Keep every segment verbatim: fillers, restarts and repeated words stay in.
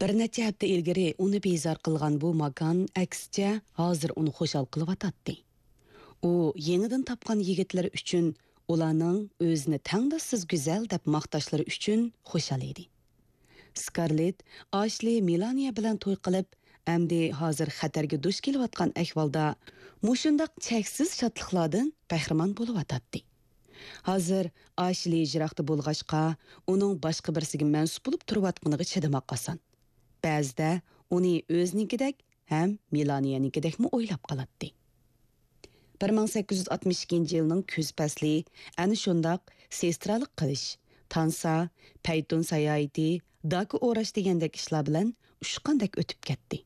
بىر نەچچە ھەپتە ئىلگىرى ئۇنى بىزار قىلغان بۇ ماكان، ئەكسىچە، ھازىر ئۇنى خۇشال قىلىۋاتاتتى. ئۇ يېڭىدىن تاپقان يىگىتلىرى ئۈچۈن ئۇلارنىڭ ئۆزىنى تەڭداشسىز گۈزەل دەپ ماختاشلىرى ئۈچۈن خۇشال ئىدى. سكارلېت ئاشلى مېلانىيە بىلەن توي قىلىپ، ئەمدى ھازىر خەتەرگە دۇچ كېلىۋاتقان ئەھۋالدا مۇشۇنداق چەكسىز شادلىقلاردىن بەھرىمەن بولۇۋاتاتتى. ھازىر ئاشلى يىراقتا بولغاچقا، ئۇنىڭ باشقا بىرسىگە مەنسۇپ بولۇپ تۇرۇۋاتقىنىغا چىدىماق ئاسان. بەزىدە ئۇنى ئۆزىنىڭكىدەك ھەم مېلانىيەنىڭكىدەكمۇ ئويلاپ قالاتتى. بىر مىڭ سەككىز يۈز ئاتمىش ئىككىنچى يىلنىڭ كۈز پەسلى ئەنە شۇنداق سېسترالىق قىلىش، تانسا، پەيتۇن ساياھىتى، داكا ئوراش دېگەندەك ئىشلار بىلەن ئۇچقاندەك ئۆتۈپ كەتتى.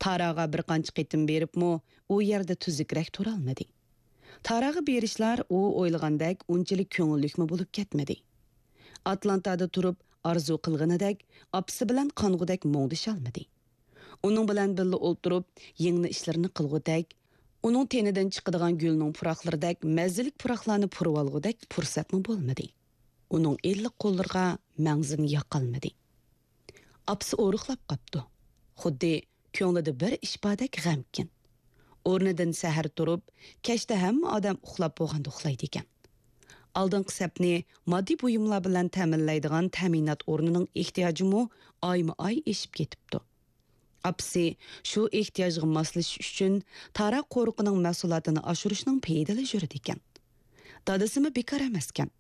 تاراغا بىر قانچە قېتىم بېرىپمۇ، ئۇ يەردە تۈزۈكرەك تۇرالمىدى. تاراغا بېرىشلار ئۇ ئويلىغاندەك ئۇنچىلىك كۆڭۈللۈكمۇ بولۇپ كەتمىدى. ئاتلانتادا تۇرۇپ ئارزۇ قىلغىنىدەك، ئاپىسى بىلەن قانغۇدەك مۇڭدىشالمىدى. ئۇنىڭ بىلەن بىللە ئولتۇرۇپ يىڭنە ئىشلىرىنى قىلغۇدەك، ئۇنىڭ تېنىدىن چىقىدىغان گۈلنىڭ پۇراقلىرىدەك مەززىلىك پۇراقلارنى پۇرىۋالغۇدەك پۇرسەتمۇ بولمىدى. ئۇنىڭ ئىللىق قوللىرىغا مەڭزىنى ياقالمىدى. ئاپىسى ئورۇقلاپ قاپتۇ. خۇددى كۆڭلىدە بىر ئىش باردەك غەمكىن. ئورنىدىن سەھەر تۇرۇپ، كەچتە ھەممە ئادەم ئۇخلاپ بولغاندا ئۇخلايدىكەن. ئالدىنقى سەپنى ماددىي بۇيۇملار بىلەن تەمىنلەيدىغان تەمىنات ئورنىنىڭ ئېھتىياجىمۇ ئايمۇ ئاي ئېشىپ كېتىپتۇ. ئاپىسى شۇ ئېھتىياجغا ماسلىشىش ئۈچۈن تاراق قورۇقىنىڭ مەھسۇلاتىنى ئاشۇرۇشنىڭ پېيىدىلا يۈرىدىكەن. دادىسىمۇ بىكار ئەمەسكەن.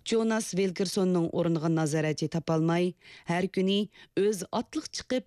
جوناس ۋىلكېرسوننىڭ ئورنىغا نازارەتچى تاپالماي، ھەر كۈنى ئۆزى ئاتلىق چىقىپ،